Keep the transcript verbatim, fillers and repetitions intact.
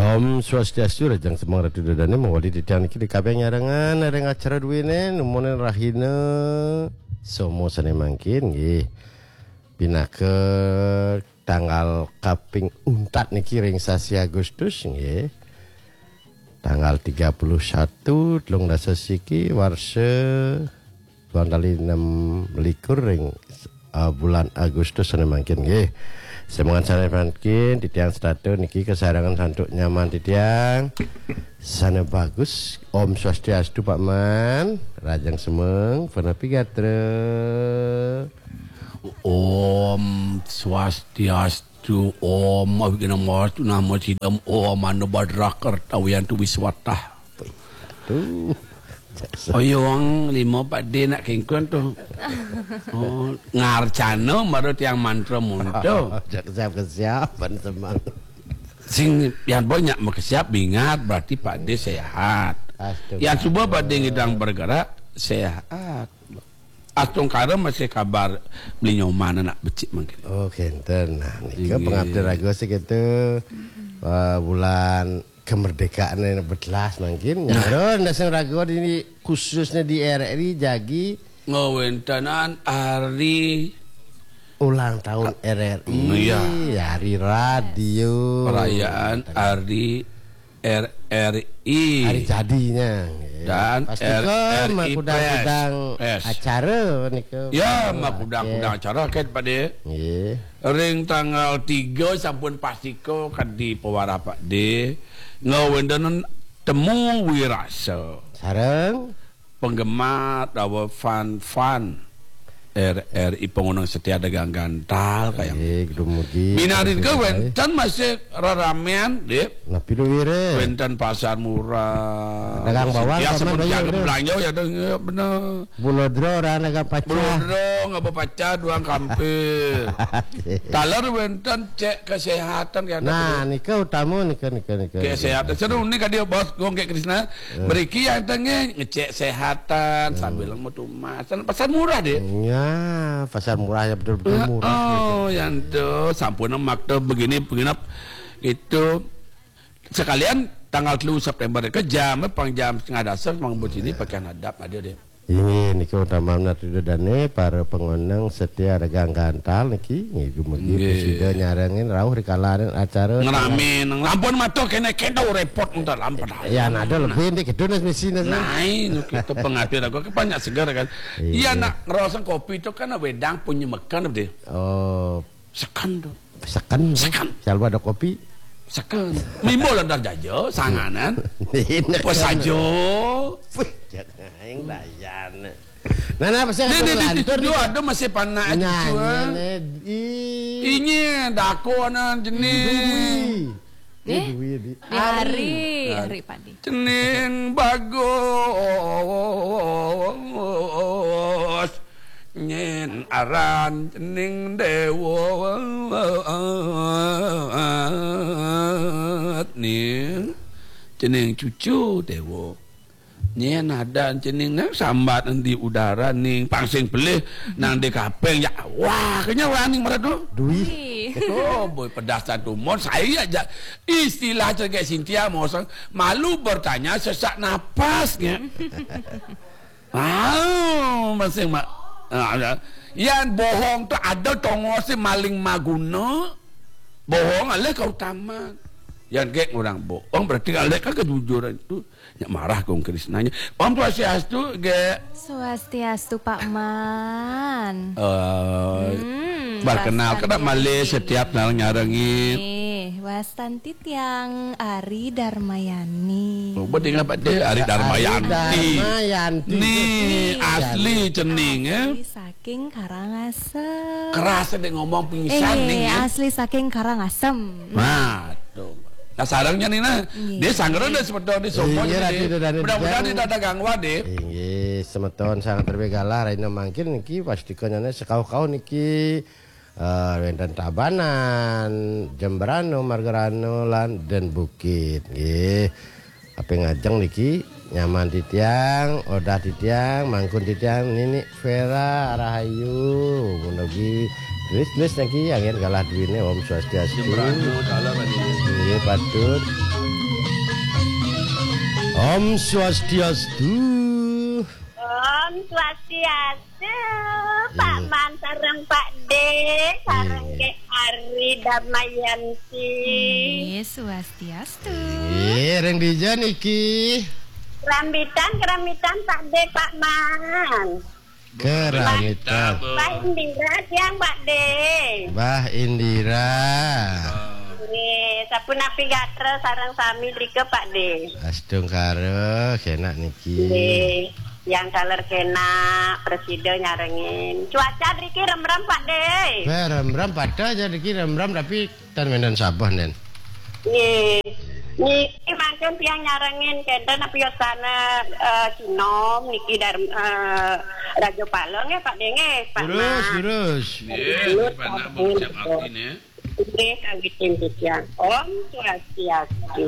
Om Swastiastu, rahajeng semeng Ratu Ida Dane, mawali titiang niki ring kabeh nyarengan ring acara duene, numunin rahina Somo sane mangkin nggih. Pinaka tanggal kaping untat niki ring sasi Agustus nggih. Tanggal tiga puluh satu, telung dasa siki, warsa duang tali enam likur ring, eh, bulan Agustus sane mangkin nggih. Semengan sane mangkin, titiang setata niki kasarengan santuk nyaman titiang. Sane bagus, Om Swastiastu, Pak Man, rahajeng semeng, punapi gatra? Om Swastiastu, Om Awighnamastu, Namo Siddham, Om Anobhadra Kartawiyantu Wiswatah. Tuh. Oyong lima Pak De nak kengkon tuh. Oh, ngarcana mara tiang mantra munta. Siap, siap, siap, pan semang. Sing yang banyak makesiap bingat berarti Pak De sehat. Astaga. Yang suba Pak De ngidang bergerak sehat. Astungkara masih kabar beli nyoman anak becik mangkin. Oh, kenten. Nah, nika. Inggih. Pengabdi raga sih gitu. Eh, bulan kemerdekaan yang betelas mangkin. Nah. Nyaro ndasing raga di, khususnya di R R I jagi ngawentenan hari ulang tahun R R I, iya, hari radio. Perayaan hari R R I. Hari jadinya, nggih. Dan pastika R R I makudang-kudang Press. Acara nika. Ya, makudang-kudang acara kan, Pak De. Nggih. Ring tanggal tiga sampun pastika kadi pewarah Pak De. Ngawentenan temu wirasa. Sareng penggemar dawa fan-fan R R I, pengunung setia dagang gantal kayang. Nggih, dumugi. Minangka wenten masih reramean, Dik. Napi lu wire? Wenten pasar murah. Dagang bawang. Ya, sama seperti bayar, ada Dik. Belanja ya, ada, ya, bener. Bulodro ora dagang pacah. Bulodro nggak berpacah, doang kampir. Taler wenten cek kesehatan ya, nah, ada. Nika utama nika, nika, nika. Kesehatan. Seru nika dia, Bos, Gong Krisna. Mriki yang tengah ngecek sehatan sambil metu mas. Pasar murah, Dik. Ya, pasar murah ya, betul-betul murah. Oh, yang tuh sampun makta begini penginap itu. Sekalian tanggal telu September ke jam, pang jam setengah dasar, mang buat sini pakaian adab ada, Dik. Inggih, niki utama menawi dane para pengoneng setia regang gantal niki, nggih, dumugi prasida nyarengin rauh rikalaning acara. Ngrame nang lampun matur kene kene repot entar lampun. Ya, ada lebih niki gedhe nes misi nes. Nah, ini kita pengatur aku kan banyak segar kan. Iya, nak ngerosong kopi itu kan wedang punya makan, Dik. Oh, seken tuh. Seken. Seken. Selalu ada kopi. Seken. Mimbo lantar jaja, sanganan. Apa saja. Wih, jangan layan. Nah, nah, pasti ada masih panak aja. Ini dakonan jenis. Duwi. Eh? Duwi, di hari, hari Padi. Cening bagus nyen aran cening dewa ning cening cucu dewa. Nyen adan cening nang sambat endi udara ning pangsing pelih nang di kapeng ya. Wah, kenya wani mereka. Duwi. Oh, boy, pedas dan tumon. Saya aja istilah cegek Sintia mau sang malu bertanya sesak napas nya. Ah, masing mak. Ah, ya. Yan bohong tu ada tongos maling maguna. Bohong alih kautaman. Yan gek orang bohong berarti alih kan kejujuran tu. Nya marah kong Krisnanya. Om Swastiastu, gek. Swastiastu, Pak Man. Eh, hmm, berkenal kena malih setiap nang nyarengin. Eh, wastanti tiang Ari Darmayani. Oh, betul ingat Pak De, Ari Darmayanti. Darmayanti. Ni asli cening, eh. Asli saking Karangasem. Keras dek ngomong pingsan nih, ya. Asli saking Karangasem. Nah, tuh. Nah, sarangnya nih, nah. Iya. Dia sanggeran dan semeton di sopo. Iya, jadi Ratu Dadane mudah-mudahan tidak ada gangguan, deh. Inggih, semeton sangat terbegalah, Raina mangkin niki pasti kenyane sekau-kau niki. Eh, wenten Tabanan, Jembrano, Margarano, lan Den Bukit, nggih. Apa ngajeng niki nyaman titiang, odah titiang, mangkun titiang, Nini Vera Rahayu, mugi tulis-tulis niki angin kalah duwine. Om Swastiastu. Jembrano, dalam ini. Nggih, patut. Om Swastiastu. Om Swastiastu, Pak Iya. Man sareng Pak De, sareng Iya. Dek Ari Damayanti. Nggih, swastiastu. Nggih, ring dija niki? Kerambitan, kerambitan Pak De, Pak Man. Kerambitan. Mbah Indira tiang Pak De. Mbah Indira. Nggih, sapunapi gatra sareng sami drika Pak De. Astungkara, kenak niki. Nggih, yang taler kenak, presida nyarengin. Cuaca driki remrem Pak De. Wah, remrem pada aja niki remrem tapi tan wénten sabah nen. Nggih. Niki mangkin tiang nyarengin kenten apa yosana eh, Sinom niki Darm eh, Raja Pala nggih Pak De nggih, Pak Terus, Mak. terus. Nggih, Pak Nak mau ucap abdi nih. Nggih, kawitin titiang. Om Swastiastu.